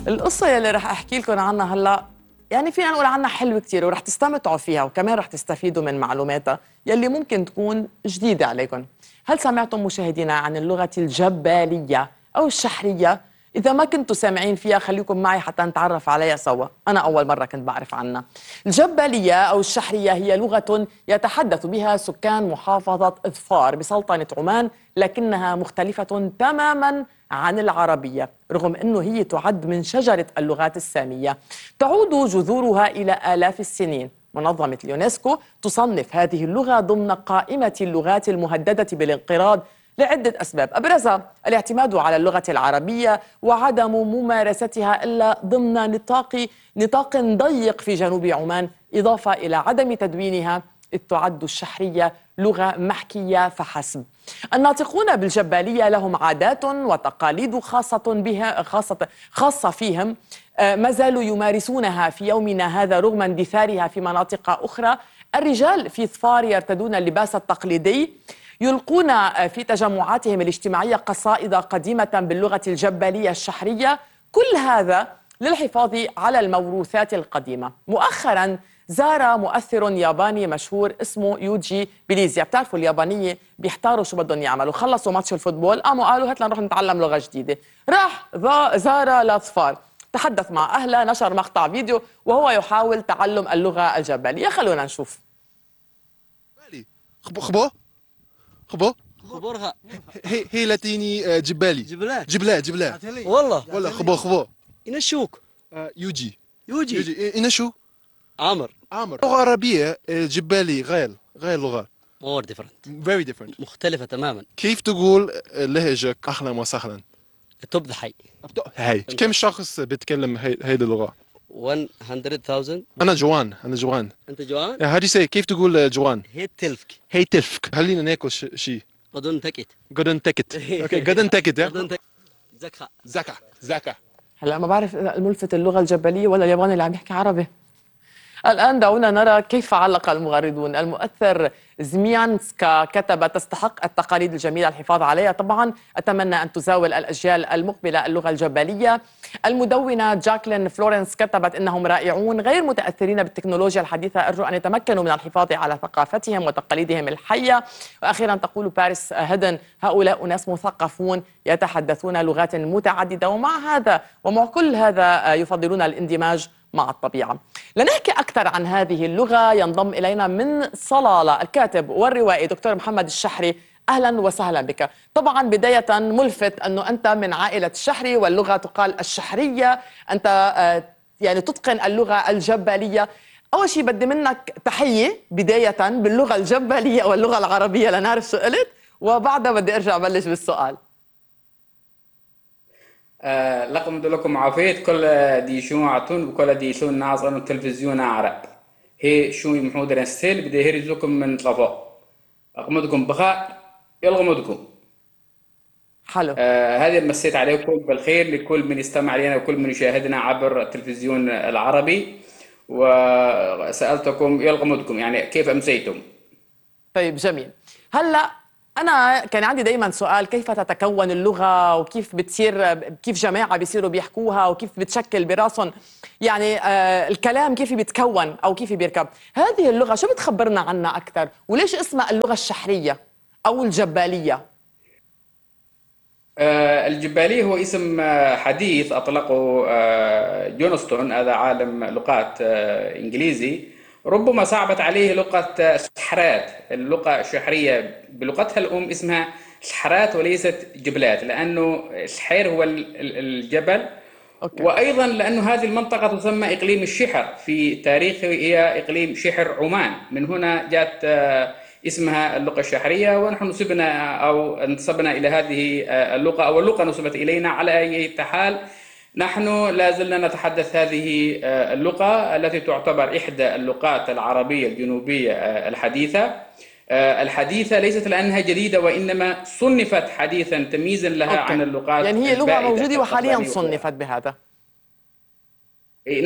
القصة يلي رح أحكي لكم عنها هلأ يعني فينا نقول عنها حلوة كتير ورح تستمتعوا فيها وكمان رح تستفيدوا من معلوماتها يلي ممكن تكون جديدة عليكم. هل سمعتم مشاهدينا عن اللغة الجبالية أو الشحرية؟ إذا ما كنتوا سامعين فيها خليكم معي حتى نتعرف عليها سوا. أنا أول مرة كنت بعرف عنها. الجبالية أو الشحرية هي لغة يتحدث بها سكان محافظة إظفار بسلطنة عمان، لكنها مختلفة تماماً عن العربية رغم أنه هي تعد من شجرة اللغات السامية. تعود جذورها إلى آلاف السنين. منظمة اليونسكو تصنف هذه اللغة ضمن قائمة اللغات المهددة بالانقراض لعدة أسباب، أبرزها الاعتماد على اللغة العربية وعدم ممارستها إلا ضمن نطاق ضيق في جنوب عمان، إضافة إلى عدم تدوينها إذ تعد الشحرية لغة محكية فحسب. الناطقون بالجبالية لهم عادات وتقاليد خاصة فيهم ما زالوا يمارسونها في يومنا هذا رغم اندثارها في مناطق أخرى. الرجال في ظفار يرتدون اللباس التقليدي، يلقون في تجمعاتهم الاجتماعية قصائد قديمة باللغة الجبالية الشحرية، كل هذا للحفاظ على الموروثات القديمة. مؤخراً زار مؤثر ياباني مشهور اسمه يوجي بليزيا. بتعرفوا اليابانية بيحتاروا شو بدهم يعملوا، خلصوا ماتش الفوتبول قالوا هات لنروح نتعلم لغة جديدة. راح زار لاظفار، تحدث مع أهله، نشر مقطع فيديو وهو يحاول تعلم اللغة الجبلية. خلونا نشوف. خبو خبرها هي لاتيني جبالي جبلات والله خبو ينشوك يوجي شو عمر لغة عربية جبالي غير لغة more different very different مختلفة تماما. كيف تقول لهجك أهلا وسهلا؟ تبدأ حي هاي كم شخص بيتكلم هيدي اللغة؟ 100,000. أنا جوان أنت جوان؟ how do you say كيف تقول جوان؟ هي تلفك خلينا ناكل شيء قدون تكت قدن تكت اوكي قدن تكت قدون تكت زكا هلا ما بعرف الملفت اللغة الجبلية ولا الياباني اللي عم يحكي عربي. الآن دعونا نرى كيف علق المغردون. المؤثر زميانسكا كتب: تستحق التقاليد الجميلة الحفاظ عليها، طبعا أتمنى أن تزاول الأجيال المقبلة اللغة الجبلية. المدونة جاكلين فلورنس كتبت: إنهم رائعون غير متأثرين بالتكنولوجيا الحديثة، أرجو أن يتمكنوا من الحفاظ على ثقافتهم وتقاليدهم الحية. وأخيرا تقول باريس هيدن: هؤلاء ناس مثقفون يتحدثون لغات متعددة ومع كل هذا يفضلون الاندماج مع الطبيعة. لنحكي أكثر عن هذه اللغة ينضم إلينا من صلالة الكاتب والروائي دكتور محمد الشحري. أهلا وسهلا بك. طبعا بداية ملفت أنه أنت من عائلة الشحري واللغة تقال الشحرية، أنت يعني تتقن اللغة الجبالية. أول شيء بدي منك تحية بداية باللغة الجبالية واللغة العربية لنعرف شو قلت، وبعدها بدي أرجع بلش بالسؤال. لكم لكم عافيت كل دي شو عتون وكل دي شو ناظر التلفزيون عرب هي شو محمود رنستيل بدي هرزكم من طفاء أقمدكم بخير يلغمدكم حلو. هذه مسيت عليكم بالخير لكل من يستمع لنا وكل من يشاهدنا عبر التلفزيون العربي، وسألتكم يلغمدكم يعني كيف أمسيتم. طيب جميل. هلأ أنا كان عندي دايما سؤال: كيف تتكون اللغة وكيف كيف جماعة بيصيروا بيحكوها وكيف بتشكل براسهم يعني الكلام كيف بيتكون أو كيف بيركب. هذه اللغة شو بتخبرنا عنها أكثر وليش اسمها اللغة الشحرية أو الجبالية؟ الجبالي هو اسم حديث أطلقه جونستون، هذا عالم لغات إنجليزي. ربما صعبت عليه لغة الشحرات، اللغة الشحرية بلغتها الأم اسمها شحرات وليست جبلات، لأنه الشحير هو الجبل. أوكي. وأيضا لأنه هذه المنطقة تسمى إقليم الشحر، في تاريخه هي إقليم شحر عمان، من هنا جاءت اسمها اللغة الشحرية. ونحن انتسبنا إلى هذه اللغة، أو اللغة نسبت إلينا. على أي حال نحن لا زلنا نتحدث هذه اللغة التي تعتبر إحدى اللغات العربية الجنوبية الحديثة ليست لأنها جديدة، وإنما صنفت حديثا تمييزا لها عن اللغات يعني هي لغة موجودة وحاليا صنفت بهذا.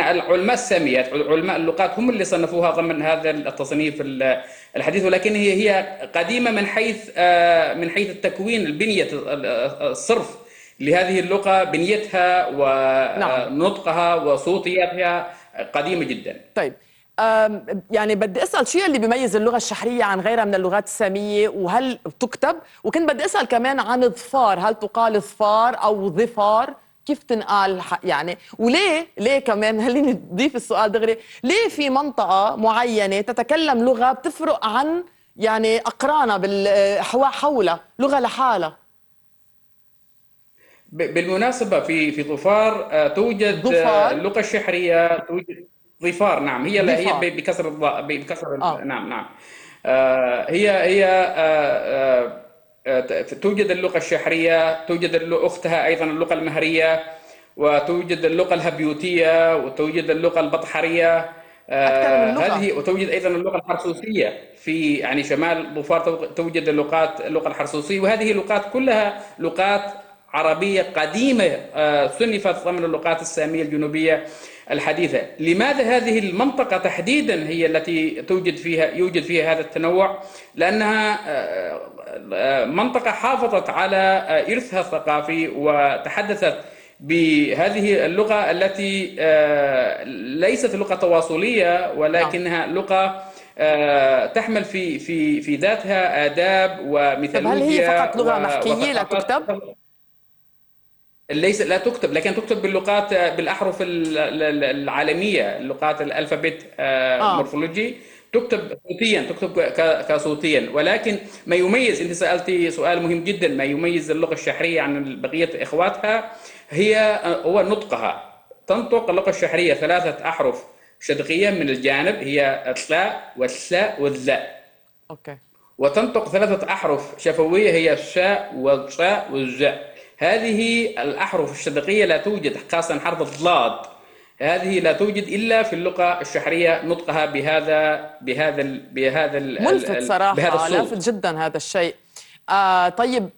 علماء الساميات علماء اللغات هم اللي صنفوها ضمن هذا التصنيف الحديث، ولكن هي قديمة من حيث التكوين، البنية، الصرف لهذه اللغة بنيتها نعم. ونطقها وصوتياتها قديمة جدا. طيب يعني بدي اسال شو اللي بيميز اللغه الشحريه عن غيرها من اللغات الساميه، وهل تكتب؟ وكنت بدي اسال كمان عن الظفار، هل تقال ظفار او ظفار؟ كيف تنقال يعني؟ ليه كمان خليني اضيف السؤال دغري، ليه في منطقه معينه تتكلم لغه بتفرق عن يعني اقرانها حولها لغه لحالها؟ بالمناسبة في ظفار توجد ظفار. اللغة الشحرية، توجد ظفار. نعم، هي ظفار. بكسر الضاء، بكسر اه نعم نعم. هي توجد اللغة الشحرية، توجد أختها أيضا اللغة المهرية، وتوجد اللغة الهبيوتية، وتوجد اللغة البطحرية. اكثر من لغه. هذه، وتوجد أيضا اللغة الحرسوسية في يعني شمال ظفار، توجد اللغة الحرسوسية، وهذه اللغات كلها لغات عربية قديمة صنفت ضمن اللغات السامية الجنوبية الحديثة. لماذا هذه المنطقة تحديدا هي التي يوجد فيها هذا التنوع؟ لأنها منطقة حافظت على إرثها الثقافي وتحدثت بهذه اللغة التي ليست لغة تواصلية، ولكنها لغة تحمل في ذاتها آداب طب هل هي وميثولوجيا فقط لغه محكيه لا وثقافات. تكتب؟ ليس، لا تكتب، لكن تكتب باللغات، بالأحرف العالمية، اللغات الألفابت اه مورفولوجي، تكتب صوتيا، تكتب كصوتيا. ولكن ما يميز، انت سألتي سؤال مهم جدا، ما يميز اللغة الشحرية عن بقية اخواتها هو نطقها. تنطق اللغة الشحرية 3 أحرف شدقية من الجانب، هي الثاء والثاء والذاء. اوكي. وتنطق 3 أحرف شفوية، هي الشاء والشاء والجاء. هذه الأحرف الشدقية لا توجد، خاصة حرف الضاد، هذه لا توجد إلا في اللغة الشحرية، نطقها ملفت بهذا صراحة، لافت الصوت. جدا هذا الشيء. طيب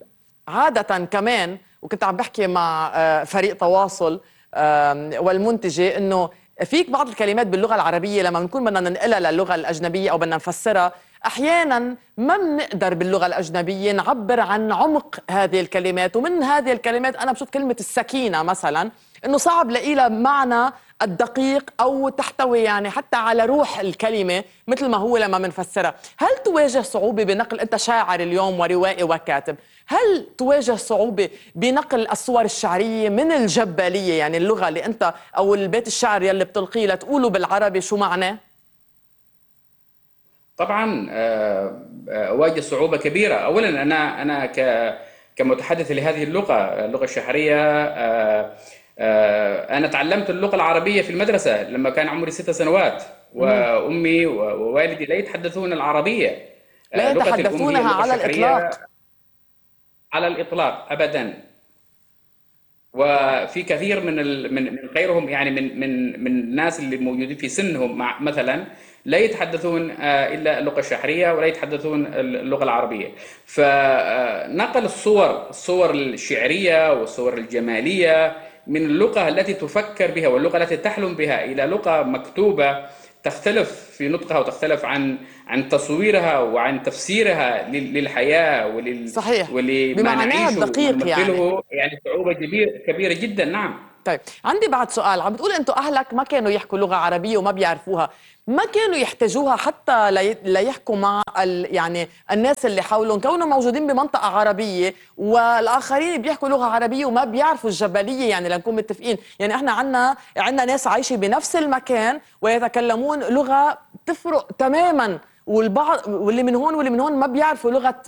عادة كمان، وكنت عم بحكي مع فريق تواصل والمنتجة، انه فيك بعض الكلمات باللغة العربية لما بنكون بدنا ننقلها للغة الأجنبية أو بدنا نفسرها، أحيانا ما بنقدر باللغة الأجنبية نعبر عن عمق هذه الكلمات. ومن هذه الكلمات أنا بشوف كلمة السكينة مثلا، إنه صعب لاقي لها معنى الدقيق أو تحتوي يعني حتى على روح الكلمة مثل ما هو لما منفسرها. هل تواجه صعوبة بنقل، أنت شاعر اليوم وروائي وكاتب، هل تواجه صعوبة بنقل الصور الشعرية من الجبالية، يعني اللغة اللي أنت أو البيت الشعر يلي بتلقيه، لتقوله بالعربي شو معناه؟ طبعا أواجه صعوبة كبيرة. أولا أنا كمتحدث لهذه اللغة الشحرية، أنا تعلمت اللغة العربية في المدرسة لما كان عمري 6 سنوات، وأمي ووالدي لا يتحدثون العربية. لا لغتي الأم هي يتحدثونها اللغة على الشحرية الإطلاق. على الإطلاق أبدا. وفي كثير من غيرهم، يعني من الناس اللي موجودين في سنهم مثلا لا يتحدثون الا اللغه الشحريه ولا يتحدثون اللغه العربيه. فنقل الصور الشعريه والصور الجماليه من اللغه التي تفكر بها واللغه التي تحلم بها الى لغه مكتوبه تختلف في نطقها وتختلف عن تصويرها وعن تفسيرها للحياه صحيح، ولما بمعناها نعيشه الدقيق يعني. ونمثله، يعني صعوبه كبيره جدا. نعم. طيب عندي بعد سؤال. عم بتقول انتوا اهلك ما كانوا يحكوا لغه عربيه وما بيعرفوها، ما كانوا يحتاجوها حتى ليحكوا مع يعني الناس اللي حولهم، كونهم موجودين بمنطقه عربيه والاخرين بيحكوا لغه عربيه وما بيعرفوا الجبليه، يعني لنكون متفقين، يعني احنا عندنا ناس عايشه بنفس المكان ويتكلمون لغه تفرق تماما، والبعض واللي من هون واللي من هون ما بيعرفوا لغه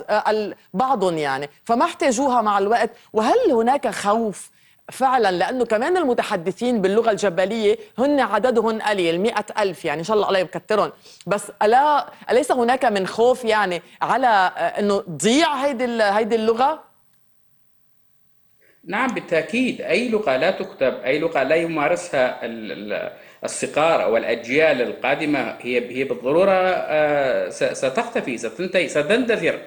بعضهم، يعني فما احتاجوها مع الوقت. وهل هناك خوف فعلا، لأنه كمان المتحدثين باللغة الجبلية هن عددهم قليل 100,000، يعني إن شاء الله الله يكترهم، بس أليس هناك من خوف يعني على أنه تضيع هيدي اللغة؟ نعم بالتأكيد. أي لغة لا تكتب، أي لغة لا يمارسها الصغار أو الأجيال القادمة، هي بالضرورة ستختفي، ستنتهي، ستندثر.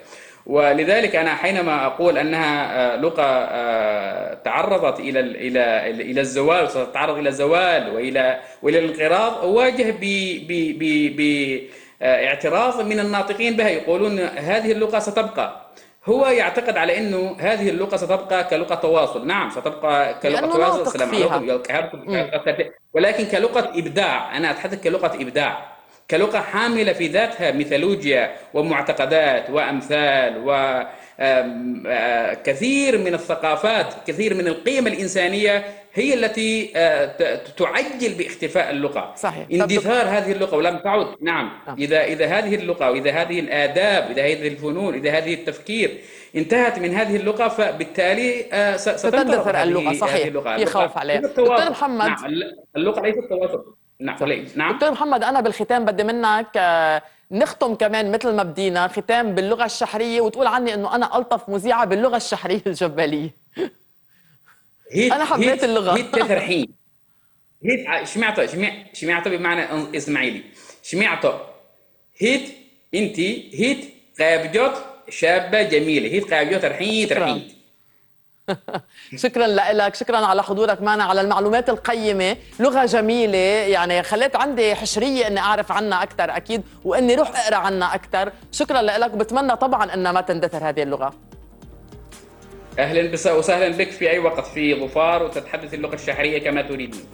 ولذلك أنا حينما أقول أنها لغة تعرضت إلى الزوال، ستتعرض إلى الزوال وإلى الانقراض، أواجه باعتراض من الناطقين بها، يقولون هذه اللغة ستبقى. هو يعتقد على انه هذه اللغه ستبقى كلغه تواصل، نعم ستبقى كلغه لأنه تواصل، ناطق السلام فيها. عليكم، ولكن كلغه ابداع. انا اتحدث كلغه ابداع، كلغه حامله في ذاتها ميثولوجيا ومعتقدات وامثال وكثير من الثقافات، كثير من القيم الانسانيه هي التي تعجل باختفاء اللغه، صحيح. اندثار هذه اللغه ولم تعد. نعم، نعم. اذا هذه اللغه واذا هذه الاداب، اذا هذه الفنون، اذا هذه التفكير انتهت من هذه اللغه، فبالتالي ستندثر اللغة. صحيح، هذه اللغه. في خوف عليه. ليست دكتور تواصل. محمد. نعم، اللغه ليست تواصل. نعم. صح. نعم. دكتور محمد، أنا بالختام بدي منك نختم كمان مثل ما بدينا ختام باللغة الشحرية، وتقول عني إنه أنا ألطف مذيعة باللغة الشحرية الجبالية. أنا حبيت اللغة. هيت تثرحين. هيت شمعته بمعنى اسماعيلي. شمعته هيت انت هيت قابجوت شابة جميلة، هيت قابجوت رحيت. شكرا لك، شكرا على حضورك معنا، على المعلومات القيمة. لغة جميلة، يعني خليت عندي حشرية اني اعرف عنها اكثر اكيد، واني روح اقرا عنها اكثر. شكرا لك، وبتمنى طبعا انها ما تندثر هذه اللغة. اهلا وسهلا بك في اي وقت في ظفار، وتتحدث اللغة الشحرية كما تريدين.